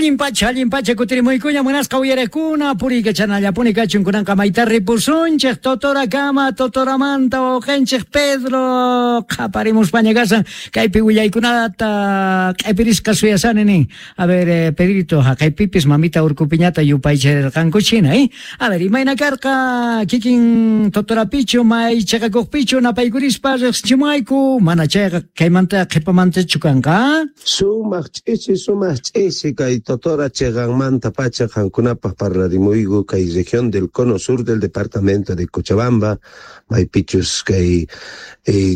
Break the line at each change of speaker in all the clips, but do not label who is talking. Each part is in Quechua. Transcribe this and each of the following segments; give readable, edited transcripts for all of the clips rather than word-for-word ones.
Allin pacha kutirimuykuña munasqa uyariqkuna puriykachanallapuni kachun kunanqa mayta ripusunchik Totorakama Totoramanta wawqinchik Pedro qhaparimuspaña kasan kaypi willaykunata q'ipirisqa suyasani nin. A ver, Pedrito, haqaypipis mamita Urkupiñata yupaycharirqankuchina, eh? A ver, imayna karqa kikin Totorapichu may chiqakuqpichu napaykurispa riqsichimuwayku mana chayqa kaymanta qhipamantachu kanqa?
Sumaq ch'ichi, sumaq ch'ichi kay Totora chiqanmanta pacha qankunapaq parlarimuyku kay región del Cono Sur del departamento de Cochabamba, maypichus kay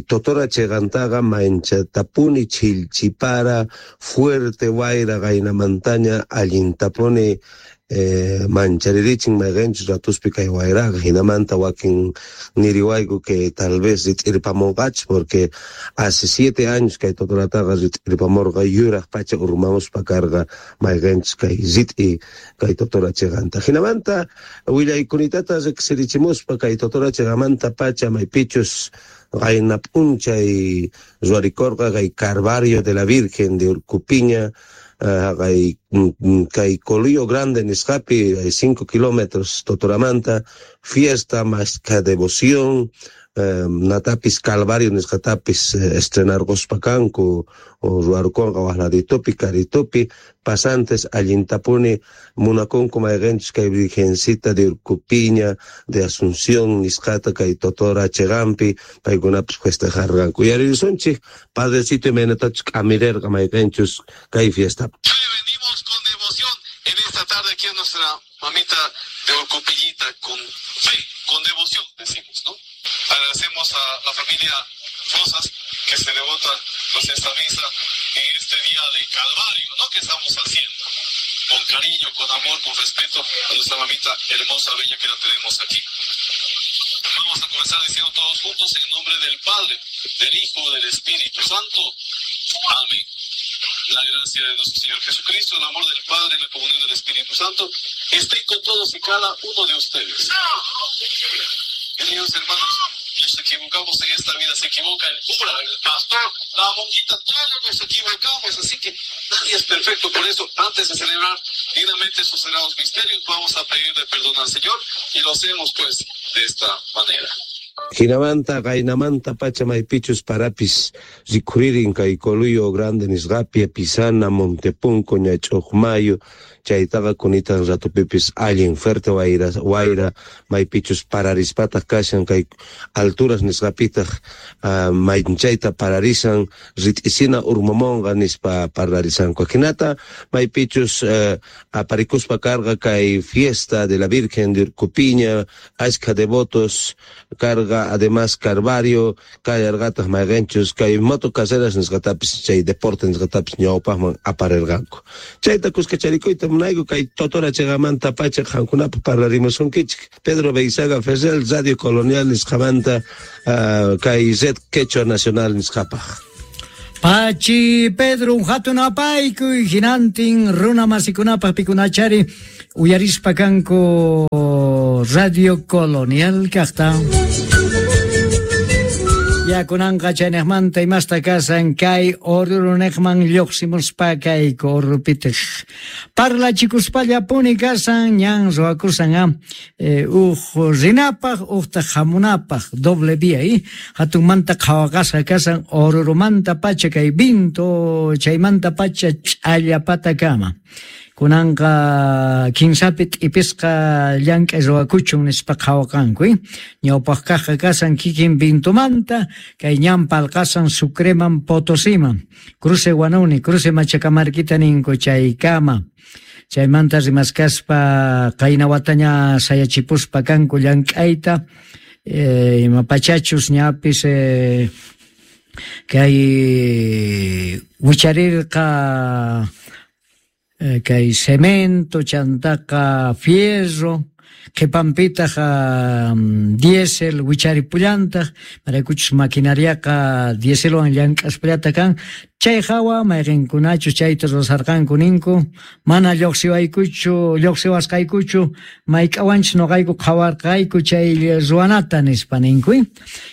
Totora chiqantaqa manchatapuni chhillchipara fuerte wayra qaynamantaña allintapuni mancharerichin mayqinchus ratuspi kay wayraqa hinamanta wakin niriwayku que tal vez rit'irpamunqachus porque hace 7 años kay Totorataqa rit'irpamurqa yuraq pacha urmamuspa karqa mayqinchus kay rit'i kay Totora chiqanta. Hinamanta willaykunitata riqsirichimuspa kay Totora chiqamanta pacha maypichus qayna p'unchay ruwarikurqa kay Calvario de la Virgen de Urcupiña, kay Coluyo Grande nisqapi, hay 5 kilómetros Totoramanta, fiesta más que devoción, natapis Calvario nisqatapis estrenarquspa kanku, o ruwarkunqa waqladitupi, karitupi, pasantes allintapuni munakunku mayqinchus kay Virgencita de Urcupiña, de Asunción nisqata kay Totora chiqanpi, paykunapis festejarqanku. Uyaririsunchik, padrecito imaynatachus k'amirerqa mayqinchus kay fiesta.
Venimos con devoción en esta tarde aquí a nuestra mamita de Urcupillita, con fe, con devoción, decimos, ¿no? Agradecemos a la familia Rosas que se devota nos esta misa en este día de Calvario, ¿no? Que estamos haciendo con cariño, con amor, con respeto a nuestra mamita hermosa, bella que la tenemos aquí. Vamos a comenzar diciendo todos juntos en nombre del Padre, del Hijo, del Espíritu Santo. Amén. La gracia de nuestro Señor Jesucristo, el amor del Padre y la comunión del Espíritu Santo esté con todos y cada uno de ustedes. Queridos hermanos, nos equivocamos en esta vida, se equivoca el cura, el pastor, la monjita, todos nos equivocamos, así que nadie es perfecto. Por eso, antes de celebrar dignamente sus sagrados misterios, vamos a pedirle perdón al Señor y lo hacemos pues de esta manera.
Hinamanta, qaynamanta pacha maypichus parapis rikhuririn kay Coluyo Grande nisqapi, Pisana, Montepunco, Ñach'uqmayu, chaytaqa kunitan ratupipis allin fuerte wayra, wayra maypichus pararispataq kashan kay alturas nisqapitaq, maychayta pararisan rit'isina urmamonqa nispa parlarisanku. Hinata maypichus aparikuspa karqa kay fiesta de la Virgen de Urcupiña, ashka devotos carga además Carvario, kallarqataq mayqinchus kay moto carreras nisqatapis chay deporte nisqatapis ñawpaqman aparirqanku. Chayta kuskacharikuyta munayku kay Totora chiqamanta pacha qankunapaq parlarimusunkichik. Pedro Beizaga Ferrer, Radio Colonial nisqamanta, kay Red Quechua Nacional nisqapaq.
Pachi Pedro, hatun apaykuy hinantin runa masikunapaq pikunachari uyarispa kanku Radio Colonial kaqta. Ya kunanqa chaynejmanta imasta kasan kay Orurunejman lluqsimuspa kay Orupitej. Parlachikuspallapuni kasan ñan ruwakusan, uj rinapaq ujtaq hamunapaq doble vía, hatunmanta qhawaqasqa kasan Orurumanta pacha kay vinto chaymanta pacha ch'allapatakama. Kunanqa kinsapi t'ipisqa llank'ay ruwakuchun nispa qhawaqanku, Ñawpaq kaqqa kasan kikin vintumanta, kay ñan palqasan Sucreman Potosiman, cruce Huanuni, cruce Machacamarquita ninku chaykama. Chaymanta rimaskaspa qayna wataña sayachipuspa kanku llank'ayta, ima pachachus ñapis, kay wicharirqa, kay cemento, chantaqa fierro, qhipanpitaq, diésel wicharipullantaq, maraykuchus maquinariaqa dieselwan llank'aspallata kan, chay hawa mayqinkunachus chayta rurasarqanku ninku, mana lluqsiwaykuchu, lluqsiwasqaykuchu, mayk'awanchus nuqayku qhawarqayku chay ruwanata nispa ninku,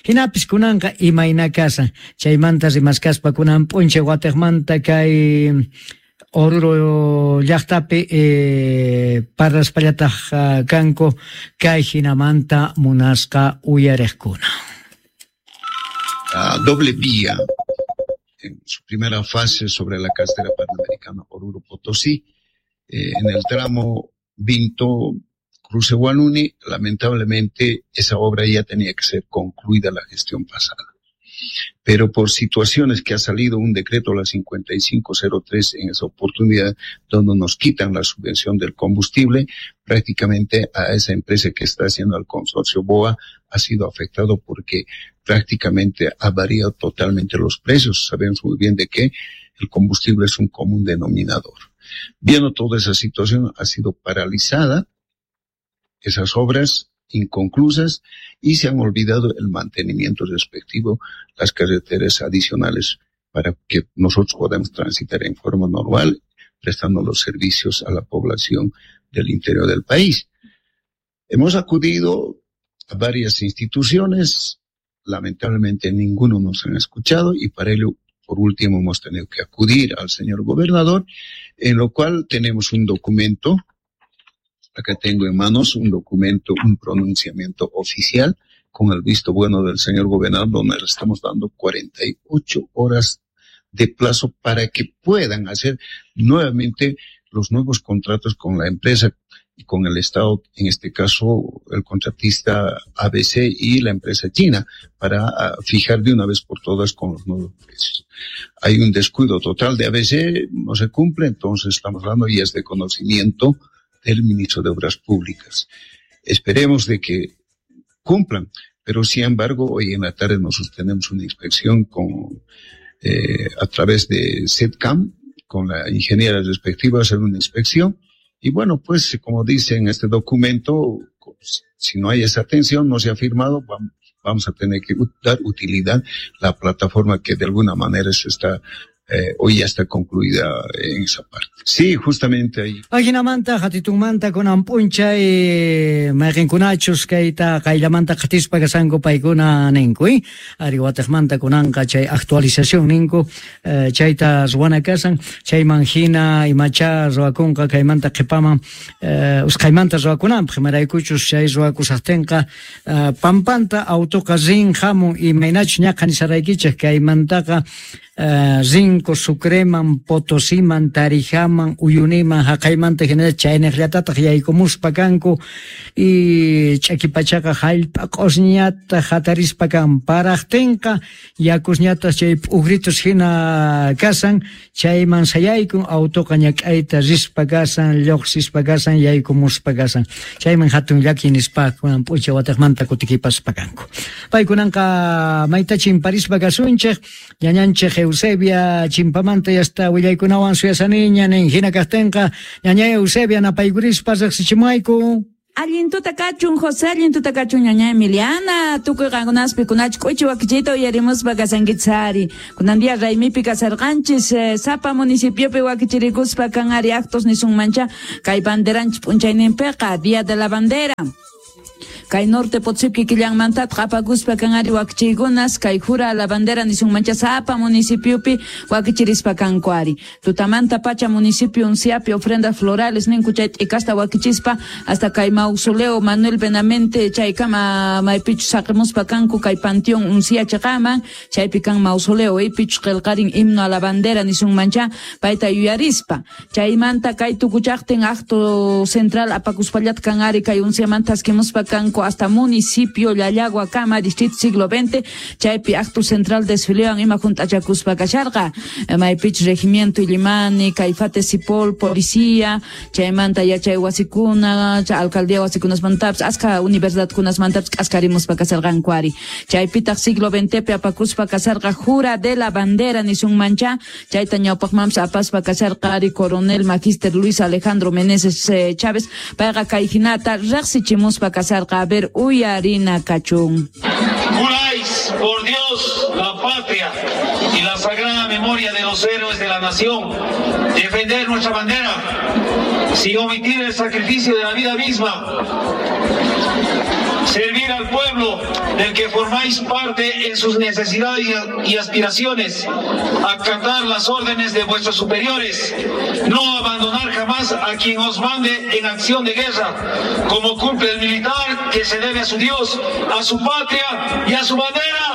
Hinapis kunanqa imayna kasan, chaymanta rimaskaspa kunan p'unchay watiqmanta kay Oruro llaqtapi parlaspallataj kanku kay hinamanta munasqa uyariqkuna.
Doble vía en su primera fase sobre la carretera panamericana Oruro Potosí, en el tramo Vinto Cruce Huanuni. Lamentablemente esa obra ya tenía que ser concluida la gestión pasada, pero por situaciones que ha salido un decreto, la 5503, en esa oportunidad, donde nos quitan la subvención del combustible, prácticamente a esa empresa que está haciendo el consorcio BOA ha sido afectado porque prácticamente ha variado totalmente los precios. Sabemos muy bien de que el combustible es un común denominador. Viendo toda esa situación, ha sido paralizada esas obras inconclusas y se han olvidado el mantenimiento respectivo, las carreteras adicionales para que nosotros podamos transitar en forma normal, prestando los servicios a la población del interior del país. Hemos acudido a varias instituciones, lamentablemente ninguno nos han escuchado y para ello, por último, hemos tenido que acudir al señor gobernador, en lo cual tenemos un documento. Acá tengo en manos un documento, un pronunciamiento oficial con el visto bueno del señor gobernador, donde le estamos dando 48 horas de plazo para que puedan hacer nuevamente los nuevos contratos con la empresa y con el Estado, en este caso el contratista ABC y la empresa china, para fijar de una vez por todas con los nuevos precios. Hay un descuido total de ABC, no se cumple, entonces estamos hablando y es de conocimiento del ministro de Obras Públicas. Esperemos de que cumplan, pero sin embargo, hoy en la tarde nosotros tenemos una inspección con a través de SETCAM, con la ingeniera respectiva, hacer una inspección. Y bueno, pues como dice en este documento, si no hay esa atención, no se ha firmado, vamos a tener que dar utilidad la plataforma que de alguna manera se está hoy ya está concluida en esa parte. Sí, justamente ahí.
Ajinamanta, hatitunmanta, kunan p'unchay mayqinkunachus kayta qayllamanta qatispa kashanku paykuna ninku, ari wataqmanta kunanqa chay actualización ninku, chayta ruwana kasan, chayman hina imacha ruwakunqa kaymanta qhipaman, usqhaymanta ruwakunanpaq, imaraykuchus chay ruwakusaqtinqa pampanta autoqa rin hamun imaynachus ñaqa nisaraykichik kaymantaqa rinko Sucreman, Potosiman, Tarijaman, Uyuniman, haqaymanta hinalla chayniqllatataq yaykumuspa kanku y ch'akipachaqa hallp'a q'usñata hatarispa kan paraqtinqa yakusñataq chay p'ugritus hina kasan chayman sayaykun autoqa ñak'ayta rispa kasan lluqsispa kasan yaykumuspa kasan chayman hatun llaki nispa kunan p'ucha wataqmanta kutikipaspa kanku. Paykunanqa mayta chimparispa kasunchik ñañanchik Eusebia chimpamanta yasta willaykunawan suyasaniña nin hina kaqtinqa ñaña Eusebia napaykurispa riqsichimayku.
Allin tuta kachun José, allin tuta kachun ñaña Emiliana, tukuy qankunaspi kunach k'uchi wakichiyta uyarimuspa kasankichari. Kunan día raymipi kasarqanchis, sapa municipiopi wakichirikuspa kan ari actos nisunmancha kay banderanchis p'unchayninpiqa, Día de la Bandera. Kay norte Potosí killanmanta apakuspa kan ari wakichiykunas kay jura la bandera nisunmancha sapa municipiopi wakichirispa kanku ari. Tutamanta pacha municipio Unciapi ofrendas florales ninku chay t'ikasta wakichispa hasta kay mausoleo Manuel Benamente chaykama maypichus saqimuspa kanku kay panteón Uncia chaqaman chaypi kan mausoleo ipichus qillqarin himno a la bandera nisunmancha payta yuyarispa. Chaymanta kay tukuchaqtin acto central apakuspallat kan ari kay Unciamanta askimuspa kanku hasta municipio Llallagua kama distrito siglo XX chaypi acto central desfilean ima juntachakuspa kasharqa maypich regimiento Illimani Caifate Sipol policía chaymanta yachay wasikuna alcaldía wasikunasmantapas aska universidadkunasmantapas k'askarimuspa kasarqanku ari. Chaypitaq siglo XX pi apakuspa kasarqa jura de la bandera nisunmancha chayta ñawpaqmanpas apaspa kasarqa ari coronel magister Luis Alejandro Meneses Chávez payqa kay hinata riqsichimuspa kasarqa. A ver, uyarina kachun.
Juráis por Dios, la patria y la sagrada memoria de los héroes de la nación, defender nuestra bandera sin omitir el sacrificio de la vida misma. Servir al pueblo del que formáis parte en sus necesidades y aspiraciones, acatar las órdenes de vuestros superiores, no abandonar jamás a quien os mande en acción de guerra, como cumple el militar que se debe a su Dios, a su patria y a su bandera.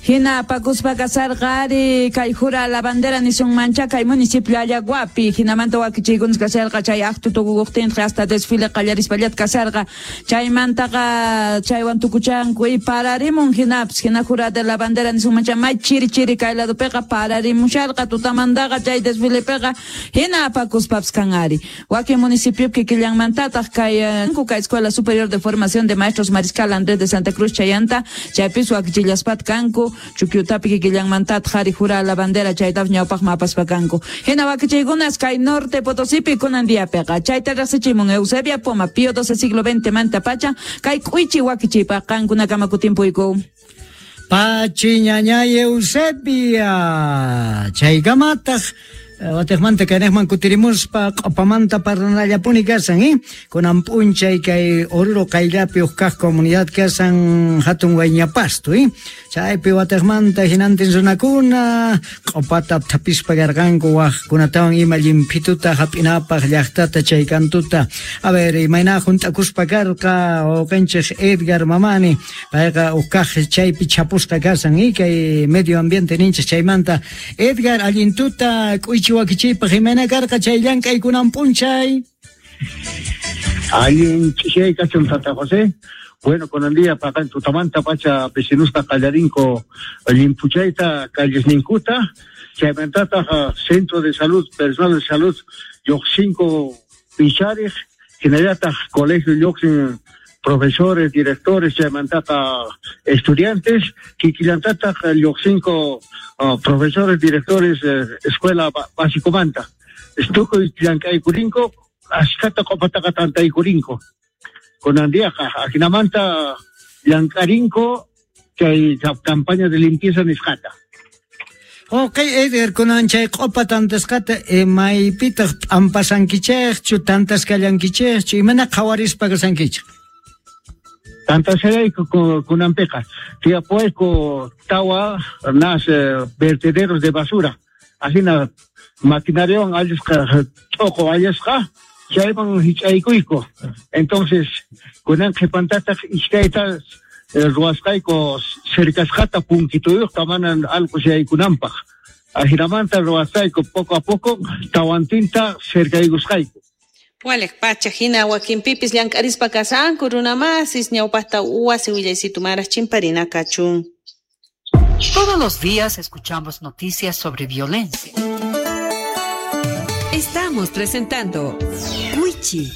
Hina apakuspa kasarqa ari kay jura la bandera nisunmancha kay municipio Allaguapi hinamanta wakichiykunas kasarqa chay acto tukukuqtinqa hasta desfile qallarispallat kasarqa chaymantaqa chaywan tukuchanku y pararimun hinapis hina jura de la bandera nisunmancha may chiri chiri kay ladopiqa pararimusharqa tutamantaqa chay desfilepiqa hina apakuspapis kan ari wakin municipiopi kikillanmantataq kay kay Escuela Superior de Formación de Maestros Mariscal Andrés de Santa Cruz chayanta chaypis wakichillaspat kanku Chukyutapi kikillanmantataq qhari jura la bandera chaytaf ñawpaqman apaspa kanku. Hina wakichiykunas kay Norte Potosipi kunan diapiqa chayta riqsichimun Eusebia Poma Pío XII siglo XX manta pacha kay k'uychi wakichiypaq qankunakama kutimpuyku.
Pachi ñañay Eusebia chaykamataq wataqmanta kaynaqman kutirimuspa q'opamanta parlanallapuni kasan, kunan p'unchay kay Oruro qayllapi huk kaq comunidad kasan hatun Wayñapasto, chaypi wataqmanta hinantin runakuna q'opata thapispa karqanku waqkunatawan ima llimphituta hap'inapaq llaqtata chay kantuta. A ver, imayna hunt'akuspa karqa wawqinchik Edgar Mamani, payqa huk kaq chaypi chapusqa kasan, kay medio ambiente ninchik chaymanta. Edgar, allintuta k'uychi wakichiypaq imayna karqa chay llank'ay kunan p'unchay?
Allin ch'ishay kachun Tata José. Bueno, kunan día paqan tutamanta pacha vecinusta qallarinko limpuchayta callesninkuta chaymantataq centro de salud, personal de salud lluqsinko pichariq hinallataq colegio lluqsin profesores, directores, chaymantaqa estudiantes, kikillantataq lluqsinko profesores, directores, escuela básicomanta. Tukuy llank'aykurinko, ashkata q'opataqa tantaykurinko. Kunan diaqa ajinamanta llank'arinko chay campaña de limpieza nisqata.
Ok, Edgar, kunan chay q'opa tantasqata maypitaq p'ampasankichikchu, tantasqallankichikchu, imana qhawarispa kasankichik?
Tantasqallayku kunanpiqa tiyapuwayku tawa nas vertederos de basura. Ajina maquinariawan allisqa t'uqu allisqa chayman hich'aykuyku. Entonces kunan qhipantataq iskayta ruwasqayku cercasqata punkituyuqta mana allqu shaykunanpaq. Ajinamanta ruwasqayku poco a poco tawantinta cercaykusqayku.
Waliq pacha hina wakinpipis llank'arispa kasanku runamasis ñawpaqta wasi willaysitu maraq chimparina kachun.
Todos los días escuchamos noticias sobre violencia.
Estamos presentando Wichi.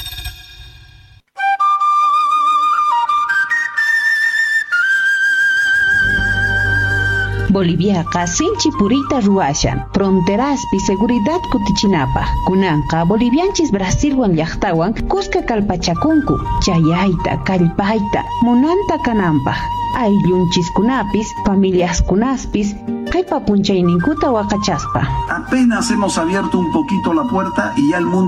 Boliviaqa sinchi puriyta ruwashan fronteraspi seguridad kutichinapaq. Kunanqa bolivianchis Brasilwan llaqtawan kuska kallpachakunku chayayta, kallpayta, munanta kananpaq. Ayllunchiskunapis, familiaskunaspis, qhipa punchayninkuta waqachaspa.
Apenas hemos abierto un poquito la puerta y ya el mundo